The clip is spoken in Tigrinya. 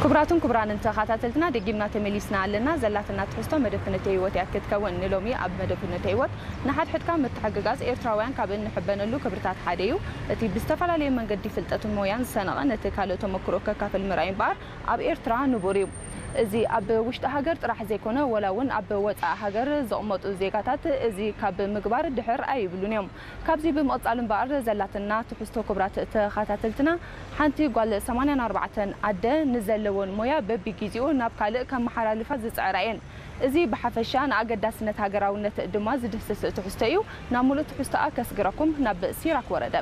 ክቡራትን ክቡራንን ተኸታተልትና፣ ደጊምና ተመሊስና ኣለና። ዘላትና ትሕዝቶ መደብ ፍኖተ ህይወት እያ ክትከውን። ንሎሚ ኣብ መደብ ፍኖተ ህይወት፣ ንሓድሕድካ ምትሕግጋዝ ኤርትራውያን ካብ እንሕበነሉ ክብርታት ሓደ እዩ። እቲ ብዝተፈላለየ መንገዲ ፍልጠትን ሞያን ዝሰነቐ ነቲ ካልእ ተመክሮ ከካፍል ምርኣይ እምበኣር ኣብ ኤርትራ ንቡር እዩ። እዚ ኣብ ውሽጢ ሃገር ጥራሕ ዘይኮነ፣ ወላ እውን ኣብ ወጻኢ ሃገር ዝቕመጡ ዜጋታት እዚ ካብ ምግባር ድሕር ኣይብሉን እዮም። ካብዚ ብምቕጻል እምበኣር፣ ዘላትና ትሕዝቶ፣ ክቡራት ተኸታተልትና፣ ሓንቲ ጓል ሰማንያን ኣርባዕተን ኣደ ንዘለወን ሞያ በቢግዜኡ ናብ ካልእ ከመሓላልፋ ዝጽዕራ እየን። እዚ ብሓፈሻ ንኣገዳስነት ሃገራውነት ድማ ዝድህስስ ትሕዝቶ እዩ። ናብ ሙሉእ ትሕዝቶኣ ከስግረኩም ናብ ሲራክ ወረደ።